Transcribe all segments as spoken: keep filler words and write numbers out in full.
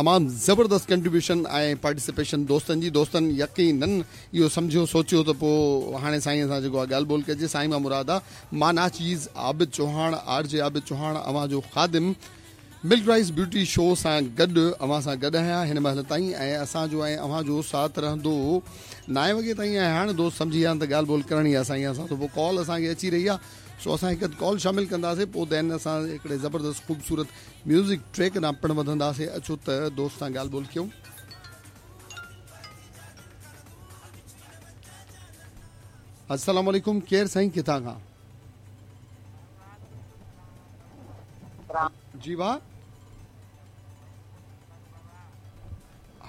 तमामु ज़बरदस्त कंट्रीब्यूशन ऐं पार्टिसिपेशन दोस्तनि जी। दोस्तनि यकीनन इहो सम्झियो सोचियो त पोइ हाणे साईं सां जेको आहे ॻाल्हि ॿोल कजे। साईं मां मुराद आहे मां नाचीज़ आबिद चौहान, आर जे आबिद चौहान, अव्हां जो ख़ादिम मिल्क राइस ब्यूटी शो सां गॾु अव्हां सां गॾु आहियां हिन महिल ताईं ऐं असांजो ऐं अव्हांजो साथ रहंदो नाए वॻे ताईं। ऐं हाणे दोस्त सम्झी विया आहिनि त ॻाल्हि ॿोल करणी आहे साईं सां, त पोइ कॉल असांखे अची रही आहे, सो असां हिकु कॉल शामिल कंदासीं, पोइ then असां हिकिड़े ज़बरदस्त ख़ूबसूरत म्यूज़िक ट्रैक ॾांहुं पिणु वधंदासीं। अचो त दोस्त सां ॻाल्हि ॿोल कयूं। अस्सलाम वालेकुम, केरु साईं किथां खां? जी वाह,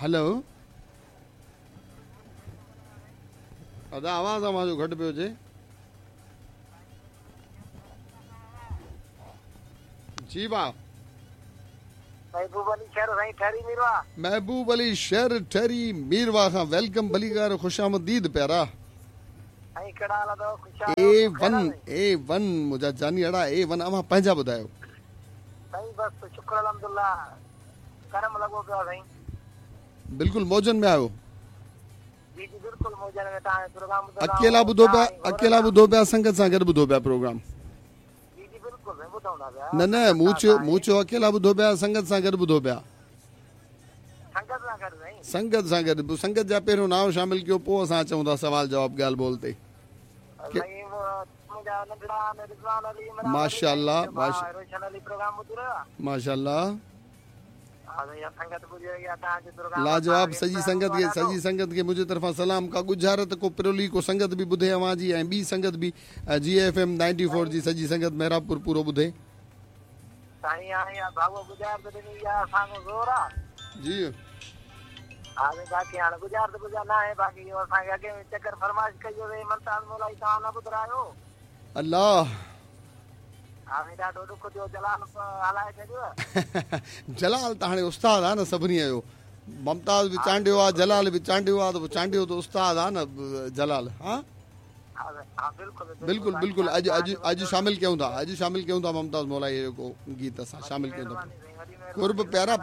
हेलो अदा आवाज़ अव्हांजो घटि पियो अचे। जी वाह, महबूब अली शहर साईं ठहरी मीरवा। महबूब अली शहर ठहरी मीरवा खां welcome, भलीकार, ख़ुशामदीद प्यारा। साईं कहिड़ा हाल अथव? ख़ुशि ए वन ए वन मुंहिंजा जानी अड़ा ए वन। अव्हां पंहिंजा ॿुधायो। साईं बसि शुक्र अल्हम्दुलिल्लाह, करम लॻो पियो आहे साईं। बिल्कुलु मौजनि में आहियो? जी जी बिल्कुलु मौजनि में। तव्हां प्रोग्राम अकेला ॿुधो पिया? अकेला ॿुधो पिया संगत सां गॾु ॿुधो पिया प्रोग्राम? जी जी बिल्कुलु ॿुधूं था पिया। न न मूं चयो मूं चयो अकेला ॿुधो पिया संगत सां गॾु ॿुधो पिया? संगत सां गॾु साईं, संगत सां गॾु। संगत जा पहिरियों नाम शामिल कयो, पोइ असां अचूं था सवाल जवाब ॻाल्हि ॿोल ते। माशाअल्लाह माशाअल्लाह, लाजवाब। सॼी संगत खे सॼी संगत खे मुंहिंजे तरफ़ां सलाम। का गुजारत को पिरोली को संगत बि ॿुधे अव्हां जी, ऐं ॿी संगत बि G F M ninety four जी सॼी संगत मेहराबपुर पूरो ॿुधे। जी अल्लाह जलाल त हाणे उस्ताद आहे न सभिनी जो। मुमताज़ बि चांडियो आहे, जलाल बि चांडियो आहे, त पोइ चांडियो त उस्ताद आहे न जलाल। हा बिल्कुलु बिल्कुलु। अॼु अॼु अॼु शामिल कयूं था, अॼु शामिल कयूं था मुमताज़ मौलाई जेको गीत असां शामिल कयूं था। कुर्ब प्यारा,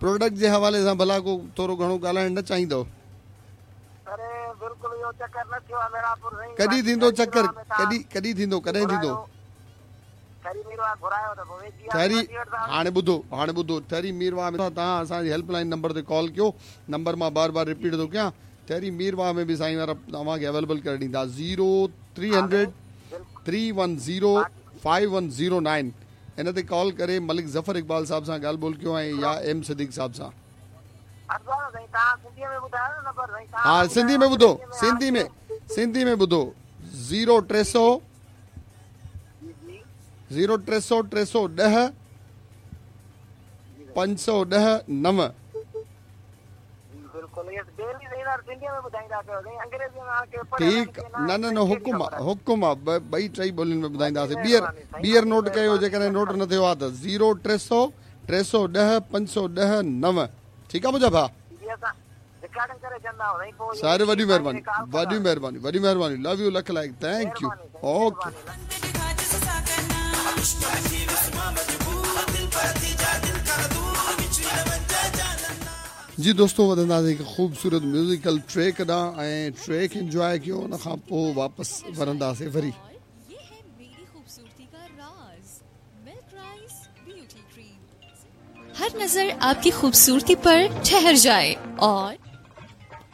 प्रोडक्ट जे हवाले सां भला को थोरो घणो ॻाल्हाइण न चाहींदो? कॾहिं थींदो चक्कर? कॾहिं कॾहिं थींदो? कॾहिं थींदो? ठहरी हाणे ॿुधो, हाणे ॿुधो, ठहरी मीरवाह में तव्हां असांजी हेल्पलाइन नंबर ते कॉल कयो। नंबर मां बार बार रिपीट थो कयां। ठहरी मीरवाह में बि साईं वारा तव्हांखे अवेलेबल करे ॾींदा। Zero three hundred three one zero five one zero nine इन ते कॉल करे मलिक ज़फ़र इक़बाल साहब सां ॻाल्हि ॿोल कयो ऐं या एम सदीक साहब सां। हा सिंधी में ॿुधो, सिंधी में सिंधी में ॿुधो। ज़ीरो टे सौ ज़ीरो टे सौ टे सौ ॾह पंज सौ ॾह नव। ठीकु, न न न हुकुम आहे, हुकुम आहे, ॿई टई ॿोलियुनि में ॿुधाईंदासीं। ॿीहर ॿीहर नोट कयो, जेकॾहिं नोट न थियो आहे त ज़ीरो टे सौ टे सौ ॾह पंज सौ ॾह नव। ठीकु आहे मुंहिंजा भाउ, सारे वॾी महिरबानी, वॾी महिरबानी, वॾी महिरबानी। लव you, lakh लाइक़, thank you, okay. जी दोस्तों, वधंदासीं हिकु ख़ूबसूरत म्यूज़िकल ट्रैक ॾांहुं ऐं ट्रैक इंजॉय कयो, उन खां पोइ वापसि वरंदासीं वरी। हर नजर आपकी खूबसूरती पर ठहर जाए और